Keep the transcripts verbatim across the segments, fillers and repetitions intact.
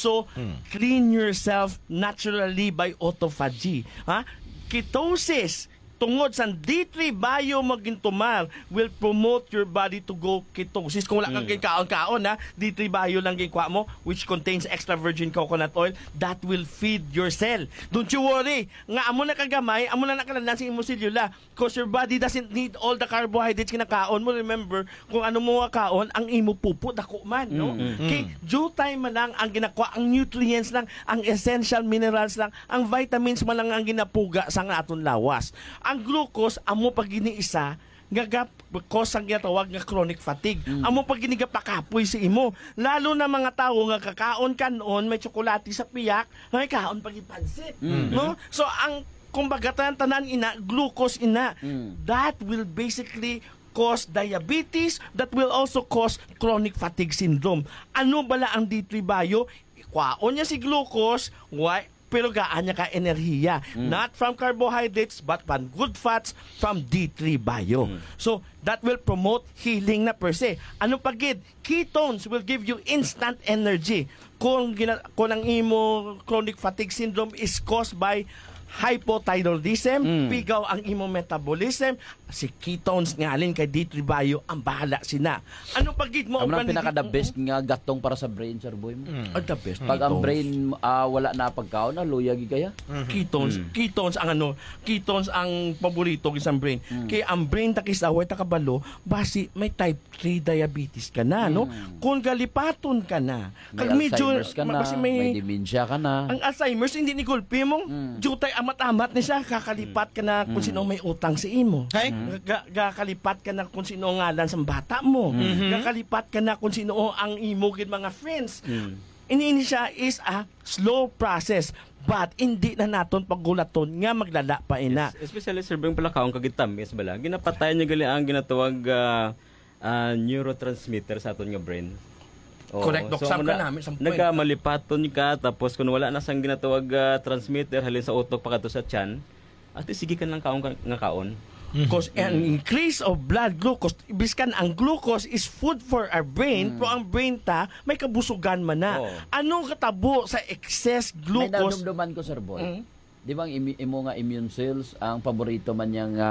to Hmm. clean yourself naturally by autophagy. Ha? Ketosis, tungod sa D three bio mo gintumar, will promote your body to go ketosis. Kung wala kang Mm. kaon-kaon, ha, D three bio lang ginkuha mo, which contains extra virgin coconut oil, that will feed your cell. Don't you worry. Nga amo na kagamay, amo na nakalandan sa imo selula. 'Cause your body doesn't need all the carbohydrates nga nakaon mo. Remember, kung ano mo nga kaon, ang imo pupo dako man, no? Mm. Mm. Kay jutay man lang ang ginakuha, ang nutrients lang, ang essential minerals lang, ang vitamins man lang ang ginapuga sa nga aton lawas. Ang glucose, amo pa gini isa nga gap cause ang ginatawag nga chronic fatigue. Mm. Amo pa gini gapakapoy sa imo. Lalo na mga tawo nga kakaon kanon, may tsokolate sa piyak, may kaon pa gid pansit, Mm. no? So ang kumbaga tanan-tanan ina glucose ina. Mm. That will basically cause diabetes, that will also cause chronic fatigue syndrome. Ano bala ang D three bio? Kwaon niya si glucose, why? Pero gaan niya ka enerhiya. Mm. Not from carbohydrates, but from good fats, from D three bio. Mm. So, that will promote healing na per se. Ano pa gid? Ketones will give you instant energy. Kung gina-, kung ang imo chronic fatigue syndrome is caused by hypothyroidism, Mm. pigaw ang imo metabolism, si ketones nga alin kay D three bio ang bahala sina. Ano pa gid mo Amo ang ang pinaka the best nga gatong para sa brain, Sir Boy, mo. Mm. Ah, the best. Pag ang Ketones. brain, ah, wala na pagkaon, na luya gid kaya. Mhm. Ketones, Mm. ketones ang ano, ketones ang paborito sa brain. Mm. Kay ang brain, takis away, takabalo, basi may type three diabetes ka na, no? Mm. Kung galipaton ka na, May kag medyo Alzheimer's ka ma-, na, basi may may dementia ka na. Ang Alzheimer's, hindi ni gulpi mong Mm. jutay amat-amat ni siya, kakalipat ka na kung Mm. sino may utang sa imo. Kay? Mm. Ga-, ga-, kakalipat ka na kung sino ang ngalan sa bata mo. Mm. Mhm. Kakalipat ka na kung sino ang imo gid mga friends. Mm. Ini, ini siya is a slow process, but hindi na naton paggulaton nga maglala pa ina. Yes, especially, Sir Beng, palakaon kag tamis bala. Ginapatayan niya gali ang ginatawag, ah, ah, neurotransmitter sa aton nga brain. Oo. Correct, Doc. So, Sab ang ka una, namin, sa puwet. nagkamalipaton ka, tapos kung wala na sang ginatawag, ah, transmitter, halin sa utok pa kadto sa tiyan, at least, sige ka lang kaon ka, nga kaon. Mhm. 'Cause an Mm. increase of blood glucose, biskan ang glucose is food for our brain, Mm. pero ang brain ta, may kabusugan man na. Oo. Ano katabo sa excess May glucose? nadumduman ko, Sir Boy. Mm. Di ba ang imi-, imo nga immune cells, ang paborito man niya nga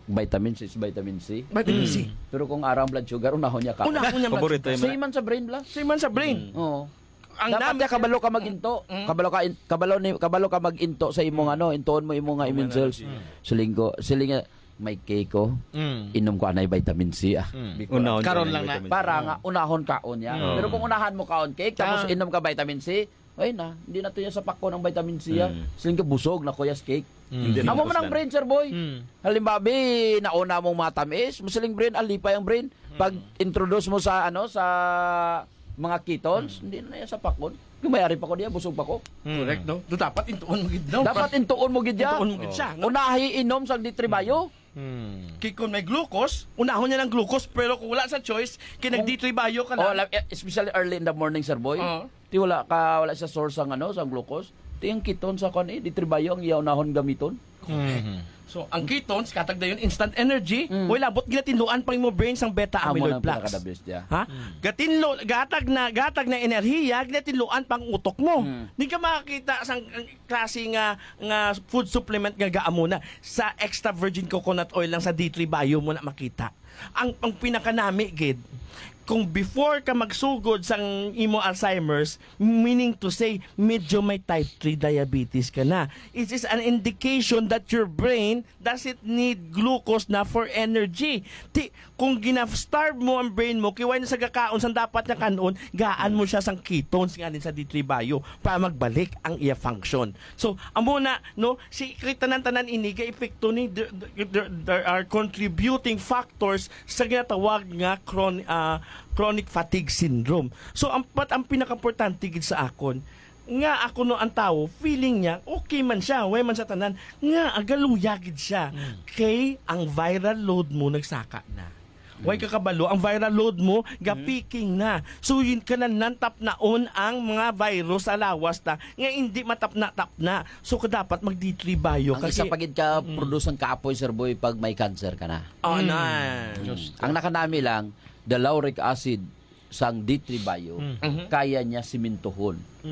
vitamin C is vitamin C? Vitamin C. Mm. Pero kung arang blood sugar, unahon niya ka. Unahon niya Paborito mag-, yung Same man sa brain, bla. Same man sa brain. Mm. Oo. Ang Dapat nam-, niya kabalo ka mag-into. Mm. Kabalo ka in-, kabalo ni, kabalo ka mag-into sa imong Mm. ano, intuon mo imo nga Imo immune nga cells. energy. Mm. Siling ko, siling nga, "May cake ko. Mm. Inom ko anay vitamin C, ah." Mm. Because Unahon Karon ka lang na. vitamin C. Para Mm. nga unahon kaon niya. Mm. Pero kung unahan mo kaon cake, tapos Ah. inom ka vitamin C, ay na, hindi na to yan sa pakon ang vitamin C, ah. Mm. Siling ka, "Busog na ko, yes, cake." Mm. Hindi Amo na man ang busog. brain, Sir Boy. Mm. Halimbawa, bi, nauna mong matamis, masiling brain, alipay ang brain. Pag Mm. introduce mo sa, ano, sa mga ketones, Mm. hindi na yan sa pakon. Kung may ari pa ko diya, busog pa ko. Mm. Correct, no? Do dapat intuon mo gid, no? Dapat intuon mo gid ya. Intuon mo gid siya, no? Unahi inom sa D three bio. Mm. Kay kung may glucose, unahon niya ng glucose, pero kung wala sa choice, kay nag Kung D three bio ka Oh, lang. la-, eh, especially early in the morning, Sir Boy. Oo. Ti wala ka, wala sa source ang, ano, sa glucose. Ti ang ketone sa kwan, eh, D three bio ang iya unahon gamiton. Mhm. So, ang ketones, katag dayon, instant energy, Mm. way labot ginatinluan pang imo brain sang beta Amo amyloid nang plaques. pinaka-the best, yeah. Ha? Mm. Gatinlo, gatag na, gatag na enerhiya, ginatinluan pang utok mo. Mm. Di ka makakita sang, ang klase nga, nga food supplement nga gaamo na. Sa extra virgin coconut oil lang sa D three bio mo na makita. Ang, ang pinakanami gid, kung before ka magsugod sang imo Alzheimer's, meaning to say, medyo may type three diabetes ka na. It is an indication that your brain doesn't need glucose na for energy. Ti, kung gina-starve mo ang brain mo, kiway na sa gakaon sang dapat niya kanon, gaan mo siya sang ketones nga din sa D three bio para magbalik ang iya function. So, amo na, no, si, kay tanan-tanan ini ga epekto ni, there, there, there are contributing factors sa ginatawag nga chron-, ah, chronic fatigue syndrome. So, ang, but ang pinakaimportante gid sa akon, nga ako no ang tawo, feeling niya, okay man siya, way man sa tanan, nga agaluya gid siya. Mm. Kay ang viral load mo nagsaka na. Way Mm. kakabalo, ang viral load mo, Mm. ga-peaking na. So, yun ka na nantapnaon ang mga virus sa lawas ta, nga hindi matapna-tapna. So, ka dapat mag-D three bio Ang ka isa kay pa gid ka Mm. produce ang kapoy, Sir Boy, pag may cancer ka na. Oh, Mm. na. Just Ang nakanami lang, the lauric acid sang D three bio, Mm. Mhm. kaya niya simintuhon. Mm.